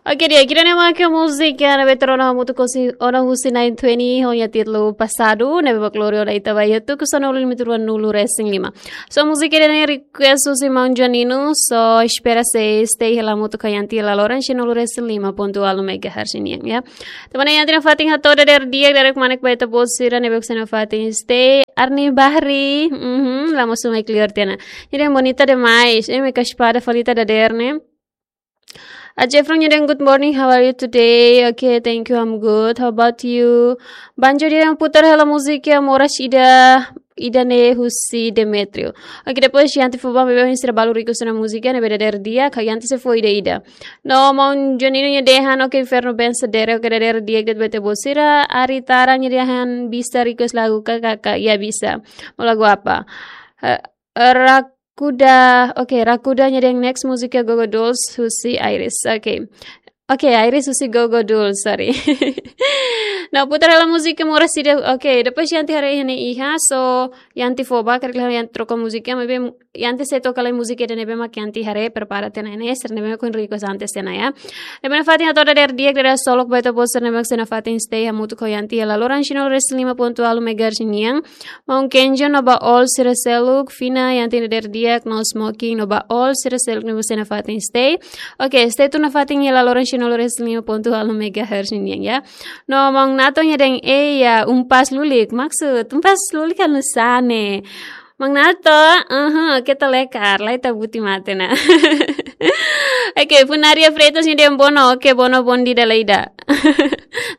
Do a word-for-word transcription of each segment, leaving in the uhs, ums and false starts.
Oke, di'ak, ida-ne'e mak múzika ne'ebé tuur ona hamutuk ho Ona husi nine twenty ho nia títulu Passado, ne'ebé mak lori ona ita ba iha tuku sanulu-lima-nulu-resin-lima. So múzika ida-ne'e request husi maun Janino, so espera sei stay hela hamutuk ho Yanti hela loron sanulu-resin-lima pontu ualu megahertz nian, ya. Tanba ne'e Yanti nafatin hato'o dadeer di'ak, dadeer kmanek ba ita-boot sira ne'ebé mak sei nafatin stay. Arni Bahri, mhm, la mosu mai clear tiha ona. Nia dehan bonita demais, eh, me kaspada falita dadeer ne'e. A Jeffrey nia dehan, "Good morning, how are you today?" Okay, thank you, I'm good. How about you? Banjo nia dehan, "Putar hela múzika moras ida, ida-ne'e husi Demetrio." Okay, depois Yanti fó ba maibé sira balu request ona múzika ne'ebé dadeer di'ak, ka Yanti sei fó ida-ida. No maun Janino nia dehan, okay, Inferno Band Sadere, okay, dadeer di'ak de'it ba ita-boot sira. Ari Tara nia dehan, "Bisa request lagu ka, kakak?" Ya, bisa. Mau lagu apa? Eh, Rakuda, okay, Rakuda nia dehan next múzika Gogo Dolls husi Iris. Okay. Okay, Iris husi Gogo Dolls, sorry. No, putar hela múzika moras ida. Okay, depois Yanti haree iha ne'e iha, so Yanti fó ba, karik Yanti troka múzika, maibé Yanti sei toka lai múzika ida ne'ebé mak Yanti haree prepara tiha ona ne'e, sira ne'ebé mak request antes tiha ona, ya. Ne'ebé nafatin hato'o dadeer di'ak, dadeer solok ba ita-boot sira ne'ebé mak sei nafatin stay hamutuk ho Yanti hela loron sanulu-resin-lima pontu ualu megahertz nian. Maun Kenjo no ba all sira seluk, Fina, Yanti dadeer di'ak, no Smoking no ba all sira seluk ne'ebé sei nafatin stay. Okay, stay tun nafatin hela loron sanulu-resin-lima pontu ualu megahertz nian, ya. No maun Nato nia dehan, "Ei, ya, umpas lulik." Maksud, umpas lulik ka nusá ne'e? Maun Nato, aha, keta lekar, lai ta buti mate ona. Okay, Funaria Freitas nia dehan bono, okay, bono, bom dia, dala ida.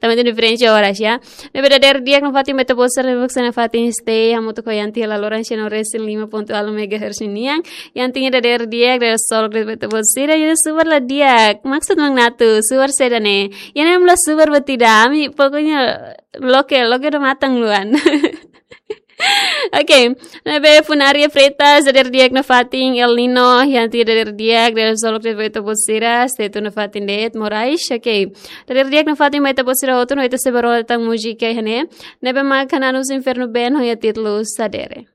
Tanba diferensa oras, ya. Ne'ebé dadeer di'ak nafatin ba ita-boot sira ne'ebé mak sei nafatin stay hamutuk ho Yanti hela loron sanulu-resin-lima pontu ualu megahertz nian. Yanti nia dadeer di'ak, dadeer solok de'it ba ita-boot sira, nia dehan super la di'ak. Maksud maun Nato, super saida ne'e? Ida-ne'e mak la super buat ida, ami pokoknya loke, loke do matan luan. Okay, ne'ebé Funaria Freitas dadeer di'ak nafatin, El Nino, Yanti dadeer di'ak, dadeer solok de'it ba ita-boot sira, stay tun nafatin de'it, Moraes, okay. Dadeer di'ak nafatin ba ita-boot sira hotu, no ita sei bá rona tan múzika iha ne'e. Ne'ebé mak Hananus Inferno Band ho nia títulu Sadere.